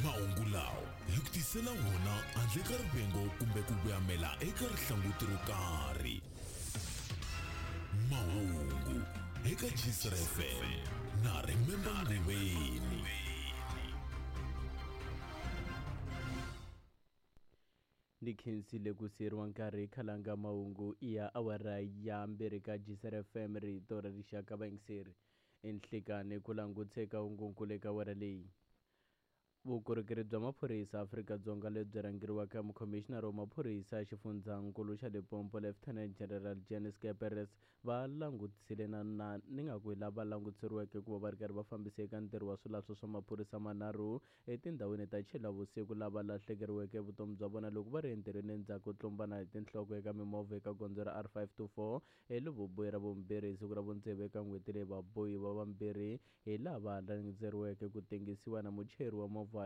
Mahungu lawa hi ku tisela wona handle ka rivengo kumbe ku voyamela eka rihlanguti ro karhi. Mahungu eka Gcr FM na Remember Nguveni. Ni khensile ku siyeriwa nkarhi khalanga mahungu ya awara ya mbirhi ka Gcr FM rito ra rixaka vayingiseri. Enhlekani ku langutse ka hungunkulu eka awara leyi. Vukorhokeri bya maphorisa Afrika-Dzonga lebyi rhangeriwaka hi mukhomixinara wa maphorisa ya xifundzankulu xa Limpopo Lieutenant General Jannie Scheepers va langutisile na na ni nga ku hi lava langutiseriweke ku va va ri karhi va fambisa eka ntirho wa swilahlo swa maphorisa manharhu etindhawini ta Tshilavusiku lava lahlekeriweke vutomi bya vona loko va ri entirhweni endzhaku ko tlumbana hi tinhloko eka mimovha eka gondzo ra R524 eLuvubuyi ra vumbirhi hi siku ra vutsevu eka n'hweti leyi. Vabohiwa vambirhi hi lava languteriweke ku tengisiwa na muchayeri wa movha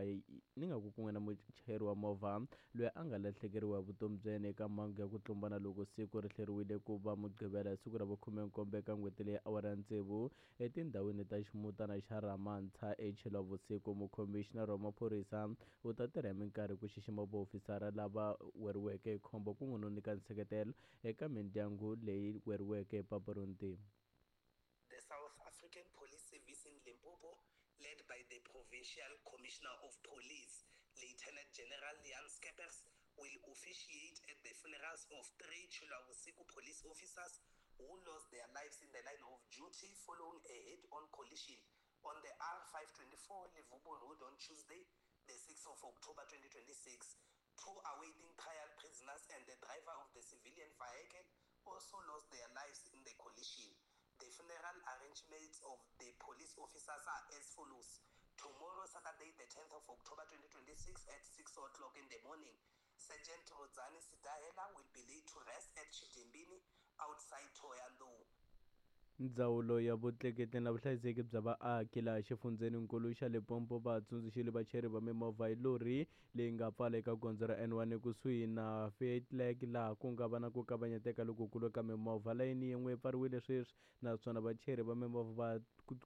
ni nga ku kun'we na muchayeri wa movha loyi a nga lahlekeriwa hi vutomi bya yena eka mhangu ya ku tlumbana loko siku ri hleriwile ku va Mugqivela hi siku ra vukhume-nkombo eka n'hweti leyi awara ya tsevu etindhawini ta ximutana xa Ramantsha eTshilavusiku. Mukhomixinara wa maphorisa u ta tirha hi minkarhi ku xixima vaofisara lava weriweke hi khombo kun'we no nyika nseketelo eka mindyangu leyi weriweke hi papa ro ntima. The South African Police Service in Limpopo, led by the Provincial Commissioner of Police, Lieutenant General Jan Scheepers, will officiate at the funerals of 3 Tshilavusiku police officers who lost their lives in the line of duty following a head-on collision on the R524 Levubu Road on Tuesday, the 6th of October 2026. 2 awaiting trial prisoners and the driver of the civilian vehicle also lost their lives in the collision. The funeral arrangements of the police officers are as follows. Tomorrow, Saturday, the 10th of October 2026 at 6 o'clock in the morning, Sergeant Rodzani Sidahela will be laid to rest at Chidimbini outside Thohoyandou. Ndzawulo ya vutleketli na vuhlayiseki bya vaaki laha xifundzheninkulu xa Limpopo va tsundzuxile vachayeri va mimovha hi lori leyi nga pfala eka gondzo ra N1 ekusuhi na Faithlegg laha ku nga va na ku kavanyeteka lokukulu ka mimovha. Layini yin'we yi pfariwile sweswi naswona vachayeri va mimovha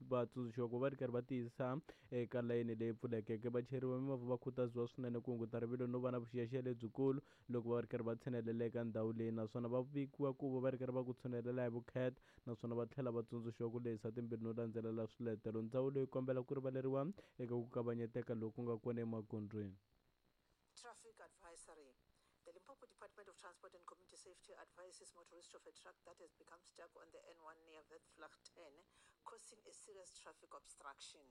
va tsundzuxiwa ku va ri karhi va tiyisa eka layini leyi pfulekeke. Vachayeri va mimovha va khutaziwa swinene ku hunguta rivilo no va na vuxiyaxiya lebyikulu loko va ri karhi va tshinelela eka ndhawu leyi naswona va vikiwa ku va va ri karhi va ku tshunelela hi vukheta naswona va tlhela va tsundzuxiwa ku lehisa timbilu no landzelela swiletelo. Ndzawulo yi kombela ku rivaleriwa eka ku kavanyeteka loku nga kona emagondzweni. Traffic advisory. The Limpopo Department of Transport and Community Safety advises motorists of a truck that has become stuck on the N1 near Vetvlak 10, causing a serious traffic obstruction.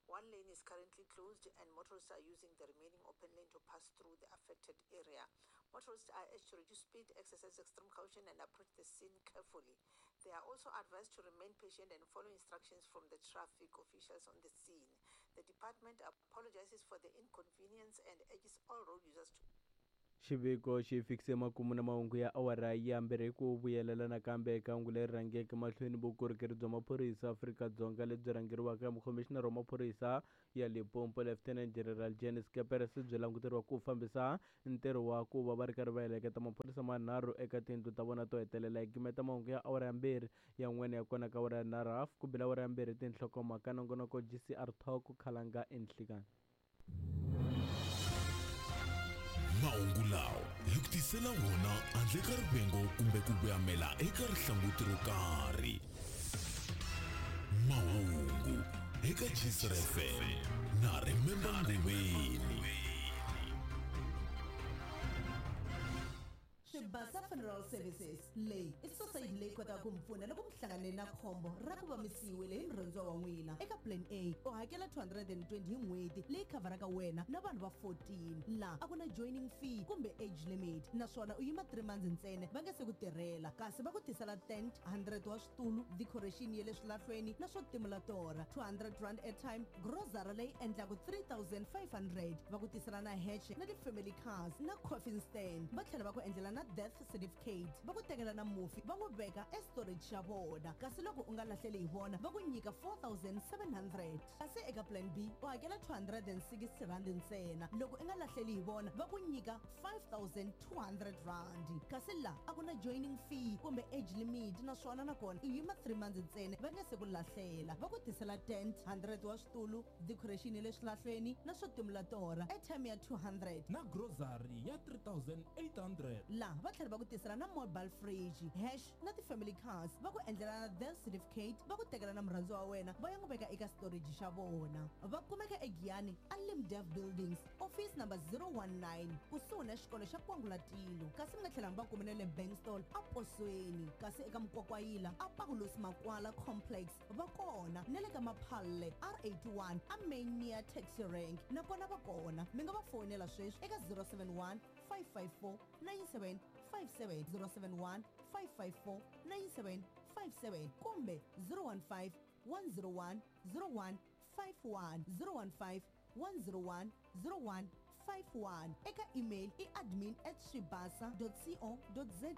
One lane is currently closed and motorists are using the remaining open lane to pass through the affected area. Motorists are urged to reduce speed, exercise extreme caution and approach the scene carefully. They are also advised to remain patient and follow instructions from the traffic officials on the scene. The department apologizes for the inconvenience and urges all road users to Xiviko xi fikise makumu na mahungu ya awara ya mbirhi ku vuyelela nakambe eka hungu leri rhangeke mahlweni. Vukorhokeri bya maphorisa Afrika-Dzonga lebyi rhangeriwaka hi mukhomixinara wa maphorisa ya Limpopo Lieutenant General Jannie Scheepers byi languteriwa ku fambisa ntirho wa ku va va ri karhi va heleketa maphorisa manharhu eka tindlu ta vona to hetelela. Hi gimeta mahungu ya awara ya mbirhi yan'wana ya kona ka awara ya nharhu hafu ku bila awara ya mbirhi tinhlokomhaka nongonoko GCR Talk Khalanga enhlikani. Mahungu lawa hi ku tisela wona handle ka rivengo kumbe ku voyamela eka rihlanguti ro karhi. Mahungu eka Gcr FM na Remember Nguveni. Swibasa Funeral Services leyi i society leyi kotaka ku mi pfuna loko mi hlangane na khombo ra ku va mi siyiwile hi murhandziwa wa n'wina. Eka Plan A u hakela 220 hi n'hweti leyi khavharaka wena na vanhu va 14. Laha a ku na joining fee kumbe age limit naswona u yima 3 months ntsena va nga se ku tirhela, kasi va ku tisela tent, 100 wa switulu, decoration ya le swilahlweni na swo timula torha, 200 rand airtime, grocery leyi endlaku 3500, va ku tisela na hatch na ti-family cars na coffin stand, va tlhela va ku endlela na death certificate. certificate va ku tekela na mufi va n'wi veka estorage xa vona kasi loko u nga lahleli hi vona va ku nyika 4700 kasi eka plan B u hakela 260 rand ntsena loko i nga lahleli hi vona va ku nyika 5200 rand kasi la a ku na joining fee kumbe age limit naswona nakona u yima 3 months ntsena va nga se ku lahlela va ku tisela tent 100 wa switulu decoration ya le swilahlweni na swo timula torha airtime ya 200 na grocery ya 3800 laha va tlhela va ku tisela na mobile fridge hash na ti-family cars va ku endlela na death certificate va ku tekela na murhandziwa wa wena va ya n'wi veka eka storage xa vona va kumeka egiyani a limdev buildings office number 019 kusuhi na xikolo xa kwangulatilo kasi mi nga tlhela mi va kumela le bankstall a posweni kasi eka mukwakwayila a paulos makwala complex va kona na le ka maphalle r81 a main near taxi rank nakona va kona mi nga va fonela sweswi eka 071 554 9757 071 554 9757 kumbe 015 101 0151 015 101 0151 eka email i admin at swibasa co za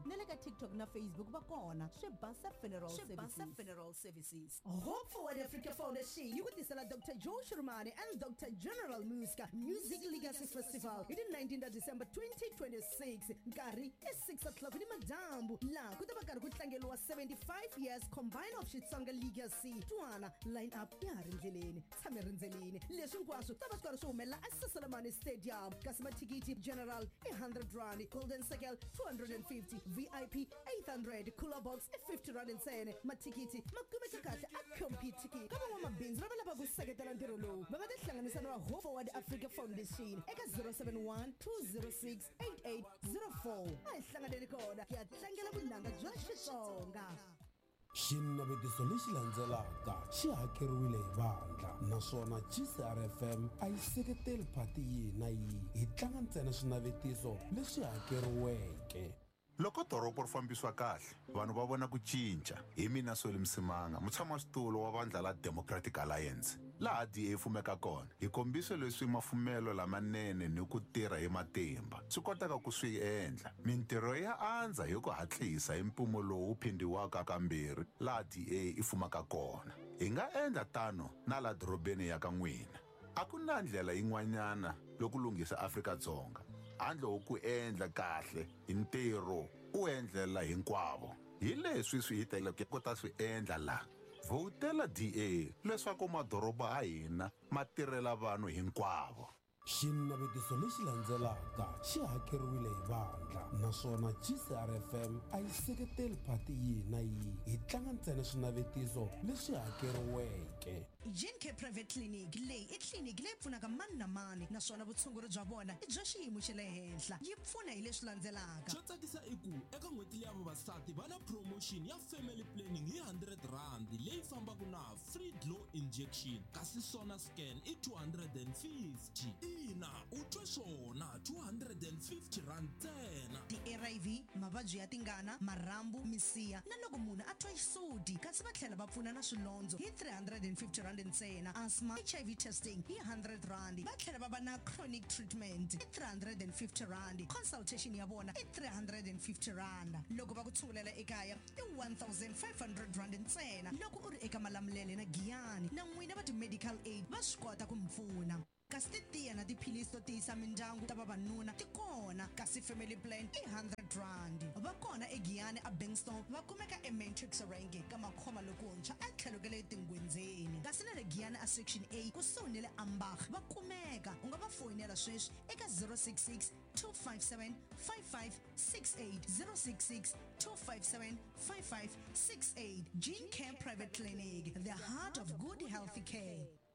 na le ka tiktok na facebook va kona swibasa funeral Swibasa Services. Funeral Services. Hope Forward Africa Foundation yi ku tisela Dr. Joe Shirmane and Dr. General Muska Music Legacy Festival hi ti 19 ta December 2026 nkarhi i 6 o'clock ni madyambu laha ku ta va karhi ku tlangeriwa 75 years combine of Xitsonga Legacy twana line up ya ha ri ndleleni tshame rindzelini leswi hinkwaswo ta va swi karhi swi humelela eSaselamani Stadium kasi mathikithi general i 100 rand golden circle 250 VIP 800 cooler box i 50 rand ntsena mathikithi ma kumeka kahle a competicket ka van'wamabindzu lava lavaka ku seketela ntirho lowu va nga tihlanganisa na va Hope Forward Africa Foundation eka 071 206 8804 a hi hlanganeni kona hi ya tlangela vunanga bya Xitsonga. Xinavetiso lexi landzelaka xi hakeriwile hi vandla naswona GCRFM a yi seketeli phati yihi na yihi hi tlanga ntsena swinavetiso leswi hakeriweke. Loko doroba ri fambisiwa kahle vanhu va vona ku cinca hi mina Solly Msimanga mutshamaxitulu wa vandla la Democratic Alliance laha DA fumeka kona hi kombise leswi mafumelo lamanene ni ku tirha hi matimba swi kotaka ku swi endla mintirho ya andza hi ku hatlisa hi mpimo lowu phindhiwaka kambirhi laha DA i fumaka kona hi nga endla tano na la dorobeni ya ka n'wina a ku na ndlela yin'wanyana loko lunghisa Afrika-Dzonga handle ko ku endla kahle hi ntirho u endlela hinkwavo hi leswi swi hi teleke ku ta swi endla laha vhotela DA leswaku madoroba ya hina ma tirhela vanhu hinkwavo. Xinavetiso lexi landzelaka xi hakeriwile hi vandla naswona GCRFM a yi seketeli phati yihi na yihi hi tlanga ntsena swinavetiso leswi hakeriweke. Gene Care Private Clinic leyi i tliliniki leyi pfunaka mani na mani naswona vutshunguri bya vona i bya xiyimo xa le henhla yi pfuna hi leswi landzelaka. Xo tsakisa i ku eka n'hweti leya vavasati va na promotion ya family planning hi 100 rand leyi fambaka na free glow injection kasi sona scan i 250 ina u twe swona 250 rand ntsena. Ti-ARV mavabyi ya tingana marhambu misiha na loko munhu a twa xisudi kasi va tlhela va pfuna na swilondzo hi 350 rand ntsena asthma HIV testing hi 100 rand va tlhela va va na chronic treatment i 350 rand consultation ya vona i 350 rand loko va ku tshungulela ekaya i 1500 rand ntsena loko u ri eka Malamulele na Giyani na n'wina va ti-medical aid va swi kota ku mi pfuna kasi titiya na tiphilisi to tiyisa mindyangu ta vavanuna ti kona kasi family plan i 100 rand va kona egiyani a Bankston va kumeka ematrix range ka makhoma lokuntshwa etlhelo ka le tingwendzeni kasi na le Giyani a section A kusuhi ni le Ambach va kumeka u nga va foyinela sweswi eka 066 257 5568 066 257 5568 Gene Care Private Clinic, the heart of good healthy care.